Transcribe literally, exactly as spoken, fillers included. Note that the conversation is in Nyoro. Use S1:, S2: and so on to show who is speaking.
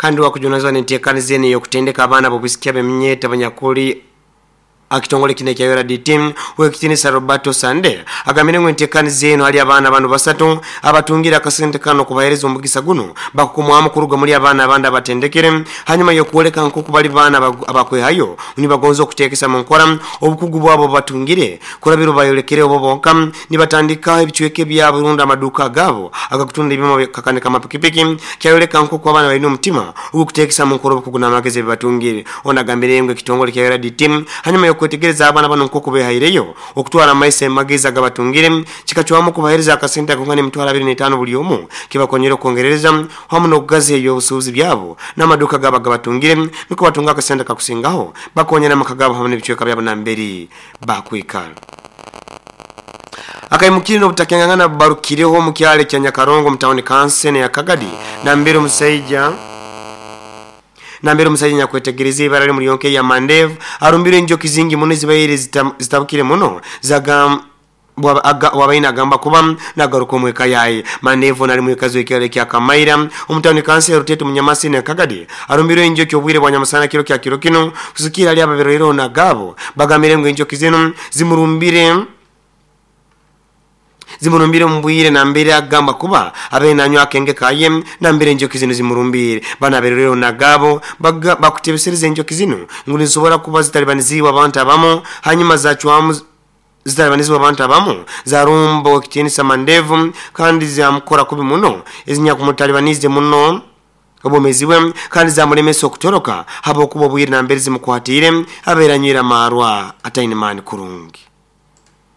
S1: Kandi wakujunazwa n'enteekaniza eno ey'okutendeka abaana b'obwisiki ab'eminyeta abanyakuli akitongole kino ekya U R D T, wekitinisa Roberto Sande agambire ngu enteekaniza eno hali abaana bano basatu abatungire akasente kano kubahereza omugisa guno bakukumwamu kuruga muri abaana abandi abatendekere, hanyuma y'okwoleka nkoku bali baana abakwehayo nibagonza okuteekesa mu nkora obukugu bwabo batungire kurabira bayolekere obo bonka nibatandika ebicweka ebyabo rundi amaduka gabo agakutunda ebyoma kakanika amapikipiki. Kyayoleka nkoku abaana balina omutima ogw'okuteekesa mu nkora obukugu n'amagezi ebibatungire. Ono agambire ngu ekitongole kya U R D T, hanyuma y'okwetegereza abaana bano nkoku behaireyo okutwara amaiso amagezi agabatungire, kikacwamu kubahereza akasente akongana emitwaro abiri n'etaano buli omu, kibakonyera okwongerereza hamu n'okugaza ebyobusuubuzi byabo n'amaduka gabo agabatungire, nukwo batunga akasente kakusingaho bakonyera amaka gabo hamu n'ebicweka byabo namberi bakwikara. Akaimukire n'obutakengangana barukireho mu kyalo kya Nyakarongo mu tawuni kansene ya Kagadi, nambere omusaija nambere omusajja nyakwetegereza ibara muri yonke ya Mandev arumbire enjoki zingi muno zibaire zitabukire muno zagam wabaina agamba kuba nagaruka omweka yaye. Mandevu nali mwekazi w'ekyalo kya Kamaira omutawuni kansi Rutetu Munyamasi ne Kagadi arumbire enjoki obwire bwa nyamusana kiro kya kiro kino. Kusikira ali ababerero nagabo bagambire ngu enjoki zino zimurumbire zimurumbire mbwire nambere agamba kuba abe nanywa akenge kaye nambere enjoki zino zimurumbire. Bana berero nagabo bakutebesereza enjoki zino ngu nizisobora kuba zitalibaniziibwa abantu abamu, hanyuma zacwamu zitalibanizibwa abantu abamu zarumba ekitiinisa Mandevu kandi zamukora kubi muno ezinyakumutalibanizze muno obwomezi bwe kandi zamulemesa okutoroka habwokuba obwire nambere zimukwatiire abeera anywire amarwa ataine maani kurungi.